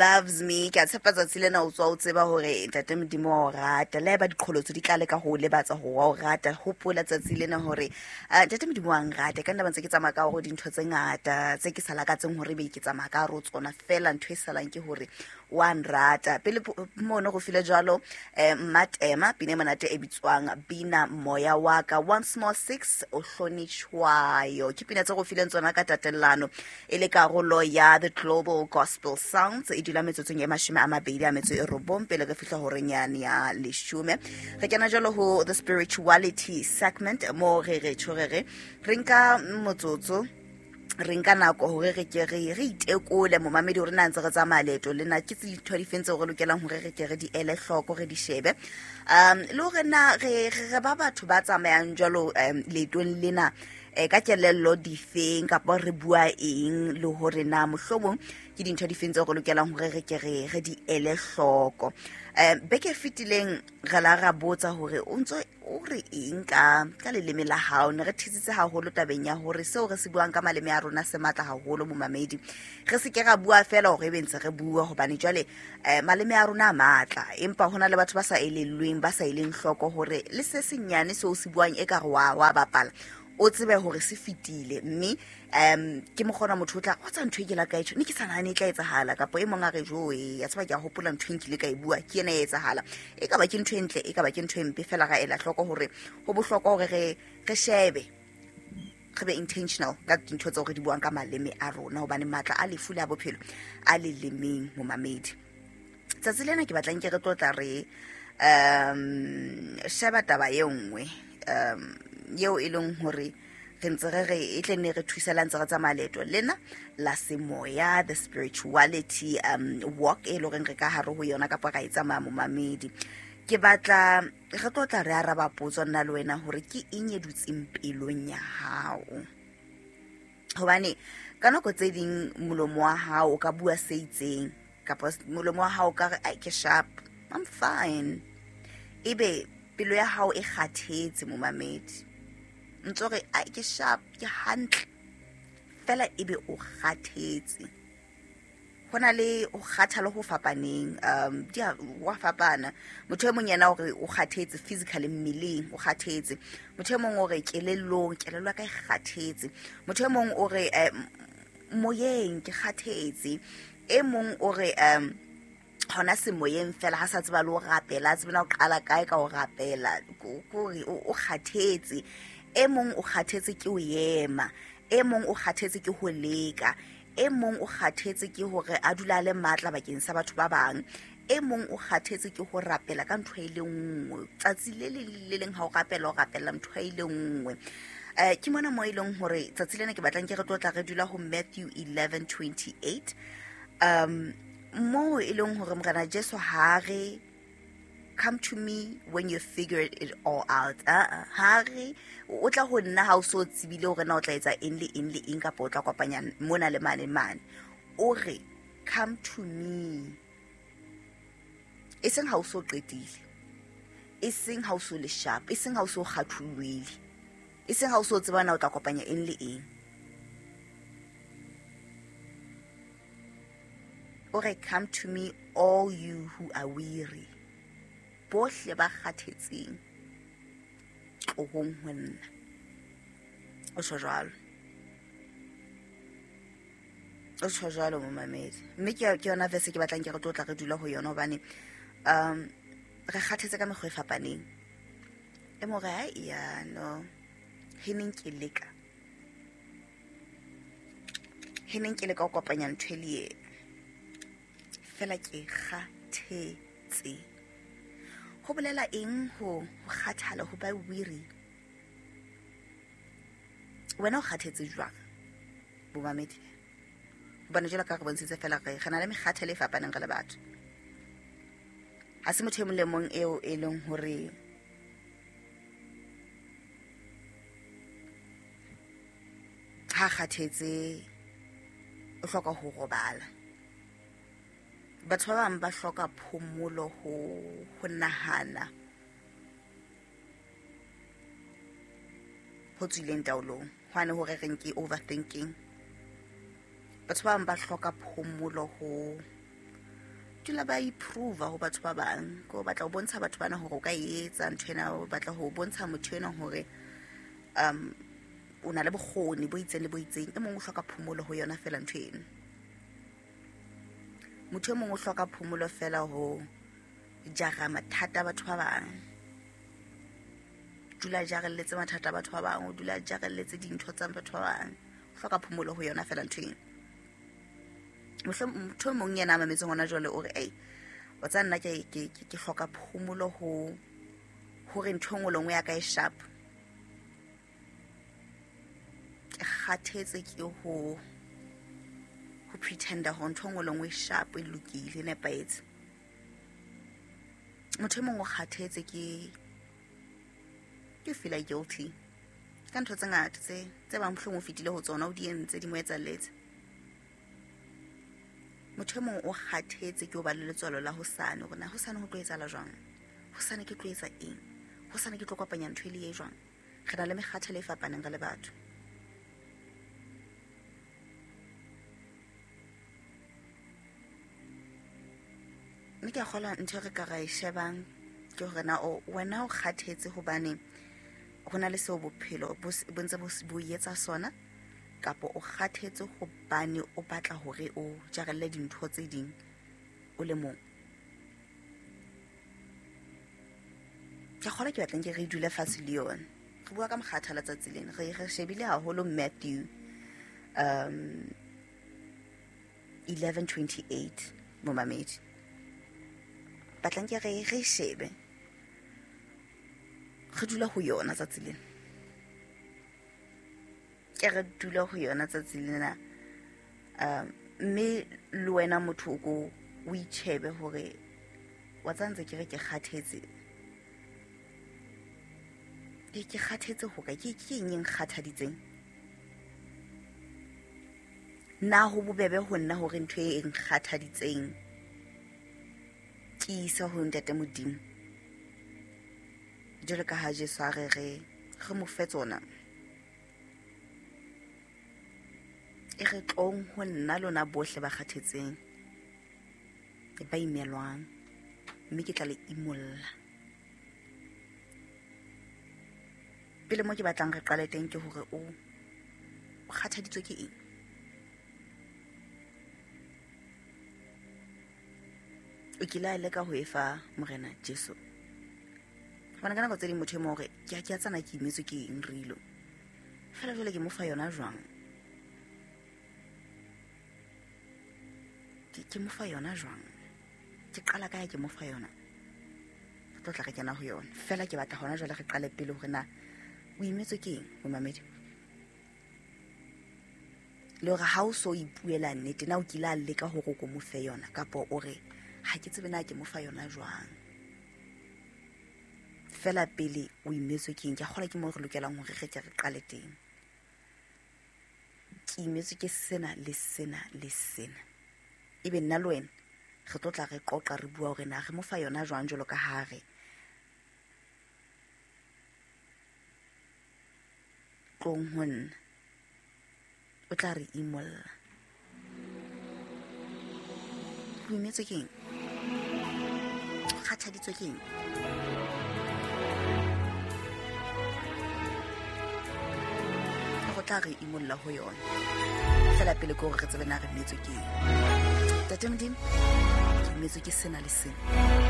Loves me. Ke a tshepa tsatsi lena o tswa o tseba hore Ntate Modimo wa o rata. Le haeba diqholotso di tla leka ho o lebatsa hore wa o rata, hopola tsatsi lena hore Ntate Modimo wa nrata. Ka nna ba ntse ke tsamaya ka hore dintho tse ngata tse ke sa lakatseng hore ebe ke tsamaya ka hare ho tsona, feela ntho e salang ke hore wa nrata. Pele mono go file jwalo Mmatema pina e monate e bitswang Bina Moya wa ka, Once More Six o hlonitshwayo, ke pina tse go fileng tsona ka tatellano e le karolo ya The Global Gospel Sounds. E dula metsotsong e 29 pele re fihla horeng yane ya 10. Re kena jalo ho the spirituality segment, mo re re tjho re re re nka motsotso, re nka nako hore re ke re re itekole, momamedi, hore na ntse re tsamaya leeto lena, ke tse dintho di feng tseo re lokelang hore re ke re di ele hloko, re di shebe, le hore na re re ba batho ba tsamayang jwalo leetong lena ka kelello difeng, kapa re bua eng, le hore na mohlomong ke dintho difeng tseo re lokelang hore re ke re re di ele hloko. Beke e fetileng re la ra botsa hore o ntso o re eng ka leleme la hao. Ne re thetsitse haholo tabeng ya hore seo re se buang ka maleme a rona se matla haholo, momamedi. Re se ke ra bua feela hore ebe ntse re bua, hobane jwale maleme a rona a matla, empa hona le batho ba sa elellweng, ba sa eleng hloko hore le se senyane seo se buang e ka re wa bapala, o tsebe hore se fetile. Mme ke mokgona motho o tla wa tsa ntho e ke la ka e tjho, ne ke sa nahane e tla etsahala, kapa e mong a re jo e ya tseba, ke a hopola ntho e nkile ka e bua, ke ena e etsahala. E ka ba ke ntho e ntle, e ka ba ke ntho e mpe, fela ra ela hloko hore ho bohlokwa hore re shebe, re be intentional ka dintho tseo re di buang ka maleme a rona, hobane matla a lefu le a bophelo a lelemeng, momamedi. Tsatsi lena ke batlang ke re tlotla re sheba taba e nngwe eo e leng hore re ntse re re e tle ne re thusela ntse re tsamaya leeto lena la semoya, the spirituality walk e leng horeng re ka hare ho yona kapa ra e tsamaya, momamedi. Ke batla re tlo tla re araba potso nna le wena hore ke eng e dutseng pelong ya hao, hobane ka nako tse ding molomo wa hao o ka bua se itseng, kapa molomo wa hao o ka re ai ke sharp, I'm fine, ebe pelo ya hao e kgathetse, momamedi. Ntso re ai ke sharp, ke hantle, fela ebe o kgathetse. Ho na le ho kgathala ho fapaneng, di a wa fapana. Motho e mong yena o re o kgathetse physically, mmeleng o kgathetse. Motho e mong o re kelellong, kelello ya ka e kgathetse. Motho e mong o re moyeng ke kgathetse. E mong o re hona semoyeng fela ha sa tseba le ho rapela, a tsebe na o qala kae ka ho rapela, kore o kgathetse. E mong o kgathetse ke ho ema, e mong o kgathetse ke ho leka, e mong o kgathetse ke hore a dula a le matla bakeng sa batho ba bang, e mong o kgathetse ke ho rapela ka ntho e le nngwe tsatsi le leng le leng. Ha o rapela, o rapela ntho e le nngwe. Ke mona mo e leng hore tsatsi lena ke batlang ke re tlotla re dula ho Matthew 11:28, moo e leng hore Morena Jesu ha re come to me when you figured it all out. Ha re o tla ho nna ha o so tsebile hore na o tla etsa eng le eng le eng, kapa o tla kopanya mona le mane mane. O re come to me, e seng ha o so qetile, e seng ha o so le sharp, e seng ha o so kgathollohile, e seng ha o so tseba na o tla kopanya eng le eng. O re come to me all you who are weary, bohle ba kgathetseng, tlohong ho nna. O tjho jwalo, o tjho jwalo, momamedi. Mme ke yona verse ke batlang ke re tlotla re dula ho yona, hobane re kgathetse ka mekgwa e fapaneng. E mo re ai ya no he neng ke leka, he neng ke leka ho kopanya ntho e le e fela ke kgathetse. Ho bolela eng ho kgathala, ho ba weary? Wena o kgathetse jwang, bomamedi? Hobane jwalo ka re bontshitse fela re na le mekgathalo e fapaneng re le batho. Ha se motho e mong le mong eo e leng hore ha kgathetse o hloka ho robala. Batho ba bang ba hloka phomolo ho nahana ho tswileng taolong, hwane hore re nke overthinking. Batho ba bang ba hloka phomolo ho Dula ba improve ho batho ba bang, ko batla ho bontsha batho bana hore o ka etsa ntho ena, o batla ho bontsha motho ena hore o na le bokgoni bo itseng le bo itseng. E mong o hloka phomolo ho yona fela ntho eno. Motho e mong o hloka phomolo fela ho jara mathata a batho ba bang. Dula jarelletse mathata a batho ba bang, o dula jarelletse dintho tsa batho ba bang. O hloka phomolo ho yona fela ntho eno. Motho e mong yena a mametseng hona jwale o re, ei, wa tseba nna ke hloka phomolo ho hore ntho e nngwe le nngwe ya ka e sharp. Ke kgathetse ke ho pretenda hore ntho e nngwe le nngwe e sharp, e lokile, e nepahetse. Motho e mong o kgathetse ke feel guilty ka ntho tse ngata tse bang mohlomong o fetile ho tsona, o di entse, di mo etsalletse. Motho e mong o kgathetse ke ho ba le letswalo la hosane, hore na hosane ho tlo etsahala jwang, hosane ke tlo etsa eng, hosane ke tlo kopanya ntho e le e jwang. Re na le mekgathalo e fapaneng re le batho. Mme ke a kgolwa ntho e re ka ra e shebang ke hore na wena o kgathetse hobane ho na le seo bophelo bo ntse bo etsa sona, kapa o kgathetse hobane o batla hore o jarelle dintho tse ding o le mong. Ke a kgolwa ke batlang ke re dule fatshe le yona. Re bua ka mokgathala tsatsi lena. Re shebile haholo Matthew 11:28 momamedi. Batlang ke re shebe. Re dula ho yona tsatsi lena. Ke re dula ho yona tsatsi lena. Mme le wena motho o ko o itjhebe hore wa tseba ntse ke re ke kgathetse. Ke kgathetse ho kae? Ke eng e nkgathaditseng? Na ho bobebe ho nna hore ntho e nkgathaditseng ke ise ho Ntate Modimo? Jwalo ka ha Jesu a re re mo fe tsona. E re tlong ho nna lona bohle ba kgathetseng, ba imelwang, mme ke tla le imolla. Pele mo ke batlang re qale teng ke hore o kgathaditswe ke eng? O kile a leka ho e fa Morena Jesu? Hobane ka nako tse ding motho e mong hore ke a tsana ke imetswe ke eng rilo. Fela jwale ke mo fa yona jwang? Ke mo fa yona jwang? Ke qala kae ke mo fa yona? Re tlo tla re kena ho yona. Fela ke batla hona jwale re qale pele hore na o imetswe ke eng, momamedi? Le hore ha o so ipuela nnete, na o kile a leka hore o ko mo fe yona, kapa o re ha ke tsebe na ke mo fa yona jwang? Fela pele o imetswe ke eng? Ke a kgolwa ke moo re lokelang hore re ke re qale teng. Ke imetswe ke sena le sena le sena. Ebe nna le wena re tlo tla re qoqa re bua hore na re mo fa yona jwang jwalo ka ha re tlong ho nna, o tla re imolla. O imetswe ke eng? O kgathaditswe ke eng? Go tla re imolla ho yona. Fela pele ke hore re tsebe na re imetswe ke eng. Ntate Modimo, ke imetswe ke sena le sena.